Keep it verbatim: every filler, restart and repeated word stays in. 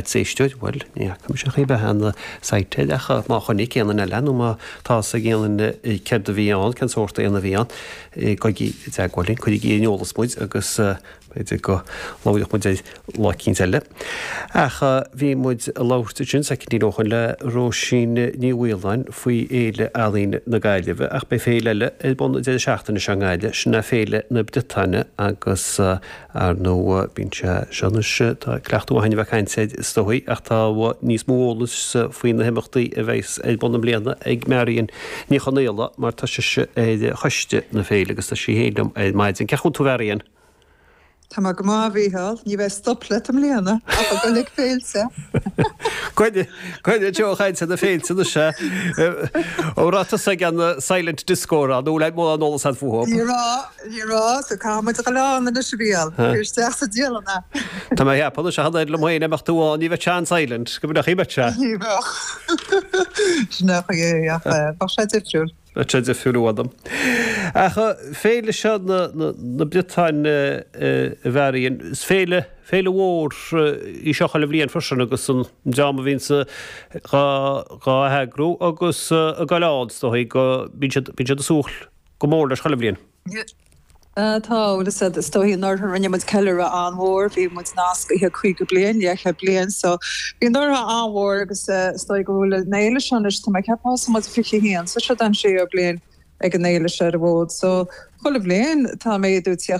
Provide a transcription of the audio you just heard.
Is éisteoir, bhuel, ní fhaca mise chaoi bith an site ach má chonaic aon duine eile nó má tá a fhios ag aon duine céard a bhí ann, cén sórt éan a bhí ann, gabhaigí i dteagmháil linn, cuirigí ar an eolas muid agus b'fhéidir go labhróidh muid air lá eicínt eile. Ach bhí muid ag labhairt ansin soicindín ó shoin le Róisín Ní Mhaoláin faoi Fhéile Ealaíne na Gaillimhe ach beidh féile eile ar bun an deireadh seachtaine seo i nGaillimh, sin é Féile na Briotáine agus ar ndóigh bíonn sé seo anois, tá cleachtadh againn a bheith ag caint air is dóigh ach tá níos mó eolais faoi na himeachtaí a bheas ar bun i mbliana ag Marion Ní Chonaola mar tá sise ar choiste na féile agus tá sí féin liom ar maidin. Cén chaoi a bhfuil tú a Mharion? Tá mé go maith, a Mhícheáil. Ní bheidh stop leat i mbliana ach ag dul ag féilte. Coinnigh Joe chaint na féilte anois é. Ó raibh tusa ag an silent disco a rá nó le mórán eolas agat fúthu? Ní raibh, ní raibh, so caithfidh muid a dhul ann anois a Mhícheáil. Cuir isteach sa dialann é. Tá mé ag ceapadh anois a tháinig liom féin imeacht tú ann, ní bheadh sé an-silent, go mbeadh, bheadh sé. Ní bheadh. Sin é an chaoi é ach bheadh sé difriúil. Bheadh sé difriúil i bhfad. Ach féile seo na Briotáine a Mharion, is féile, féile mhór í seo chuile bhliain freisin agus an dream a bhíonns dhá, dhá heagrú agus ag goil ann is dóigh go, bíonn siad, bíonn siad ag súil go mór leis chuile bhliain. Tá, bhuel is is dóigh anuraidh rinne muid ceiliúradh an-mhór, bhí muid nascaithe caoga bliain, leathchéad bliain, so bhí anuraidh an-mhór agus is dóigh go bhfuil an fhéile seo anois, tá mé ag ceapadh thosaigh muid fiche a haon, so seo an séú bliain ag an fhéile seo ar an bhfód, so chuile bhliain tá méadú ag tíocht.